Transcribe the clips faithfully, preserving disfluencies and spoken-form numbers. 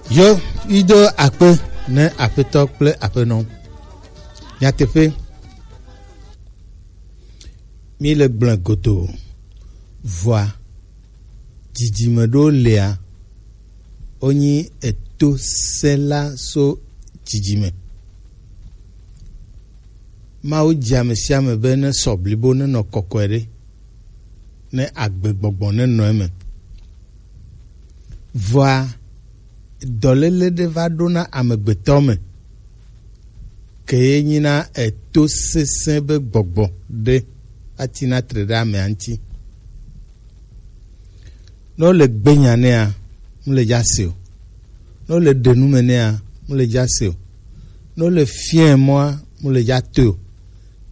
Yo, ido akpe ne Aƒetɔ kple Aƒenɔ. Nyateƒe, mi le gblẽ godoo. Vɔa, dzidzime ɖewo lia, wonyi eto sẽla so dzidzime. Mawu dzi ame sia ame be nesɔ blibo, nenɔ kɔkɔe ɖe, ne agbegbɔgbɔ nenɔ eme. Vɔa, dɔléle ɖe va ɖo na amegbetɔ me, ke ye nyina eto sesẽ be gbɔgbɔ ɖe atina tre ɖe amea ŋuti. Ne wole gbe nya nɛa, mele dza se o. Ne wole ɖe nu me nɛa, mele dza se o. Ne wole fiɛ mɔa, mele dza toe o.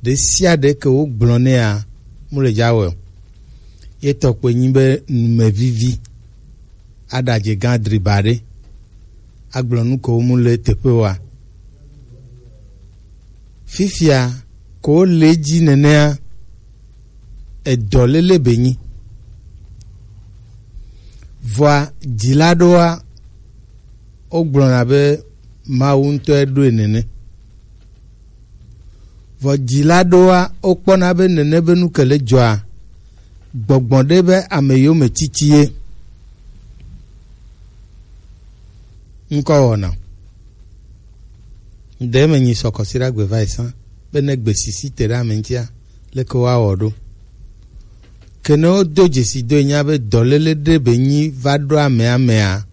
Ɖe sia ɖe ke wogblɔ nɛa, mele dza wɔe o. Ye tɔ kpoe nyi be numevivi aɖadze gã driba ɖe agblɔ nu ke womu le teƒe oa. Fifia ko wole edzi nenea, edɔléle be nyi. Vɔa, dzila ɖoa, wogblɔna be Mawu ŋutɔe ɖoe nene. Vɔ dzila ɖoa, wokpɔna be nene be nu ke le dzɔa, gbɔgbɔ ɖe be ame yome titi ye. Ŋkɔ wɔna. Ɖe me nyi sɔ kɔsiɖagbe va yi sã be ne gbe sisi te ɖe ame ŋutia, leke woawɔ ɖo? Ke ne wodo dzesi do nya be dɔléle ɖe be nyi va ɖo amea mea,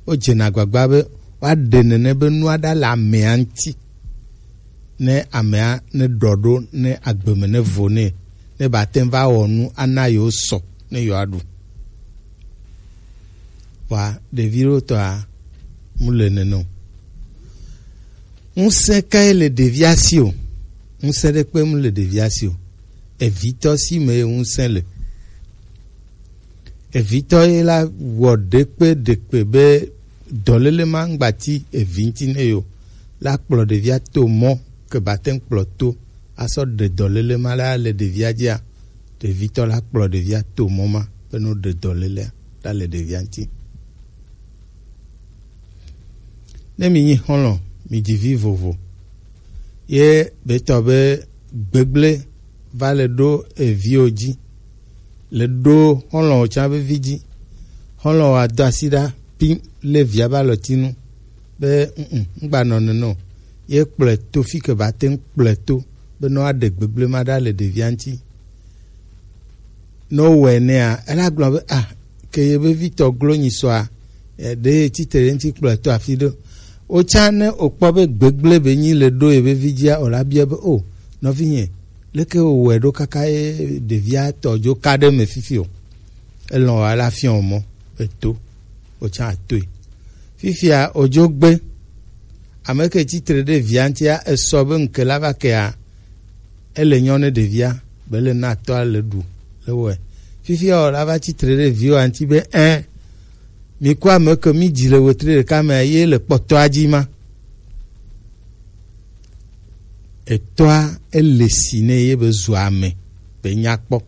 wodzena agbagba be woaɖe nene be nua ɖa le amea ŋuti, ne amea ne ɖɔ ɖo, ne agbe me ne vo nɛ, ne bate ŋu va wɔ nu ana yewo sɔ ne yewoaɖu. Vɔa, ɖevi ɖewo tɔa, mu le nene o. Ŋusẽ kae le ɖevia si o? Ŋusẽ ɖekpe mu le ɖevia si o. Evitɔ si me ye ŋusẽ le. Evitɔ ye la wɔ ɖekpe ɖekpe be dɔléle ma ŋgbati evi ŋuti ne yo. La kplɔ ɖevia to mɔ ke bate ŋu kplɔ to asɔ ɖe dɔléle ma la le ɖevia dzia. Ɖevitɔ la kplɔ ɖevia to mɔ ma be no ɖe dɔlélea ɖa le ɖevia ŋuti. Ne mi nyi xɔlɔ, mi dzi vi vovo. Ye be tɔ be gbegble va le ɖo eviwo dzi. Le ɖo xɔlɔwo tsã be vi dzi. Xɔlɔwo ado asi ɖa pim le via be alɔtinu. Be, mm, mm, ŋgba nɔ nene o. Ye kplɔe to fi ke ba te ŋu kplɔe to. Be no aɖe gbegble ma ɖa le ɖevia ŋuti. Ne wowɔe nɛa, ela gblɔ be, ah, ke ye be vitɔ glo nyi sɔa, eh, ɖe ye tsitre ɖe ŋuti kplɔe to afi ɖe. Wotsã ne wokpɔ be gbegble be nyi le ɖo ye be vi dzia, wòla bia be, o, nɔvinye, leke wowɔe ɖo kaka ye ɖevia tɔ dzo ka ɖe me fifi o? Elɔ̃ wa la fiɔ mɔ, eto, wotsã atoe. Fifia, odzo gbe, ame ke tsitre ɖe via ŋutia, esɔ be ŋke la va kea, ele nyɔ ne ɖevia, be le na tɔa le ɖu le wɔe. Fifia o, la va tsitre ɖe viwo ŋuti be, ɛ, mi ku ame ke mi dzi le wetri ɖeka me ye le kpɔtɔa dzi ma. Etɔa ele si ne ye be zu ame be nya kpɔ.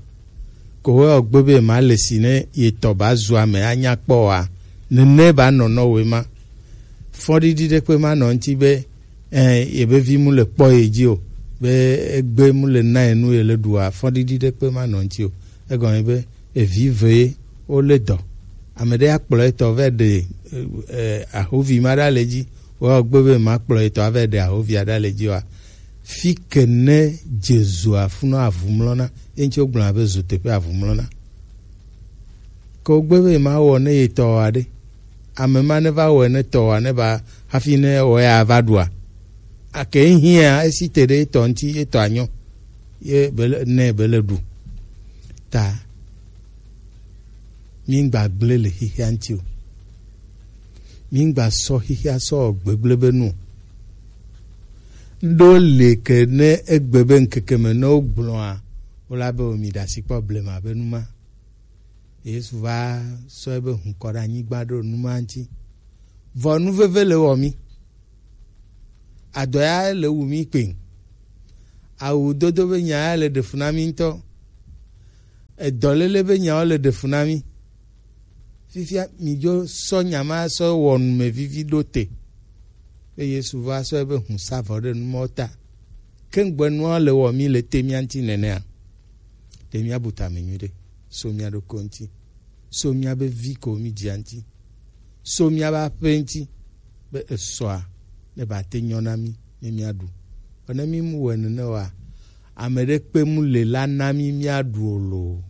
Ko wɔ gbe be ma le si ne ye tɔ ba zu ame anya kpɔ wa, nene ba nɔ nɔ we ma. Fɔɖiɖi ɖe kpe ma nɔ ŋuti be eh, ye be vi mu le kpɔ ye dzi o, be egbe mu le na ye nu ye le ɖua, fɔɖiɖi ɖe kpe ma nɔ ŋuti o. Egɔme be evi ve ye wo le dɔ. Ame ɖe akplɔ etɔ vɛ ɖe, eh, ahovi ma ɖa le dzi. Wo gbe be ma kplɔ etɔ avɛ ɖe ahovi aɖa le dzi wa. Fi ke ne Jesu afunɔ avumlɔna, ye ŋuti wogblɔna be zu teƒe avumlɔna. Ke wogbe be ma wɔ ne ye tɔ wa ɖe. Ame ma ne va wɔe ne tɔ wa ne va hafi ne wɔ ya va ɖua. Ake hiã esi te ɖe etɔ ŋuti, etɔ anyɔ. Ye bele, ne bele ɖu. Ta, mi ŋgba gblẽ le xexea ŋuti o. Mi ŋgba sɔ xexea sɔ wɔ gbegblẽ be nu o. Ɖo le ke ne egbe be ŋkeke me ne wogblɔa, wola be o mi ɖe asi kpɔ blema be nu ma. Yesu va sɔ ebe hukɔ ɖe anyigba ɖo nu ma ŋuti. Vɔ nu veve le wɔ mi. Adɔ ya le wu mi kpe. Awu dodo be nya ya le ɖe fu na mi ŋutɔ. Edɔlele be nyawo le ɖe fu na mi. Fifia mi dzo sɔ nya ma sɔ wɔ numevivi ɖo te. Be Yesu va sɔ ebe hun sa vɔ ɖe nu mɔ ta. Ke ŋgbe nua le wɔ mi le te mia ŋuti nenea? Ɖe mia bu tame nyuiɖe. So mia ɖokɔ ŋuti. So mia be vi ko mi dzia ŋuti. So mia be aƒe ŋuti. Be esɔa ne ba te nyɔ na mi ne mia ɖu. Vɔ ne mi mu wɛ nene wa, ame ɖe kpe mu le la na mi mia ɖu o lo.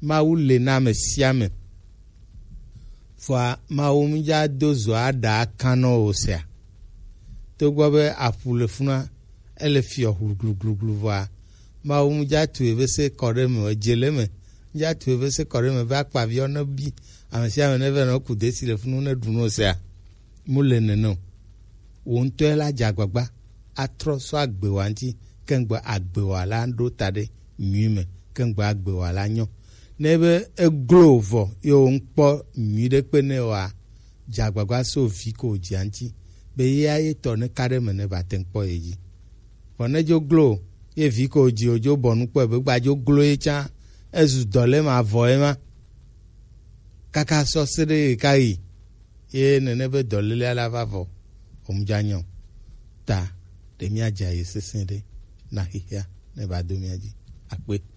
Mawu le na ame sia ame. Vɔa Mawu mu dza do zo aɖa kan nɔ o sea. Togbɔ be aƒu le funa, ele fiɔ hluglugluglu vɔa, Mawu mu dza tu eve se kɔ ɖe me, edze le me, mu dza tu eve se kɔ ɖe me be akpaviɔ ne bi, ame sia ame ne vɛ nɔ ku desi le funu ne ɖu no sea. Mu le nene o. Wo ŋutɔe la dze agbagba atrɔ sɔ agbewa ŋuti, ke ŋgbe agbewa la ɖo ta ɖe nyui me, ke ŋgbe agbewa la nyɔ. Ne be eglo vɔ ye wo ŋkpɔ nyui ɖe kpe ne wa, dze agbagba so vi ko dzia ŋuti, be ye aye tɔ ne ka ɖe me ne ba te ŋkpɔ ye dzi. Vɔ ne dzo glo ye vi ko dzi o dzo bɔ nu kpɔe be gba dzo glo ye tsã, ezu dɔ le ma vɔ ye ma. Kaka sɔ se ɖe ye ka yi. Ye nene be dɔlélea la va vɔ, omudza nyɔ ta ɖe mía dza ye sesẽ ɖe na xexea ne va do mía dzi. Akpe.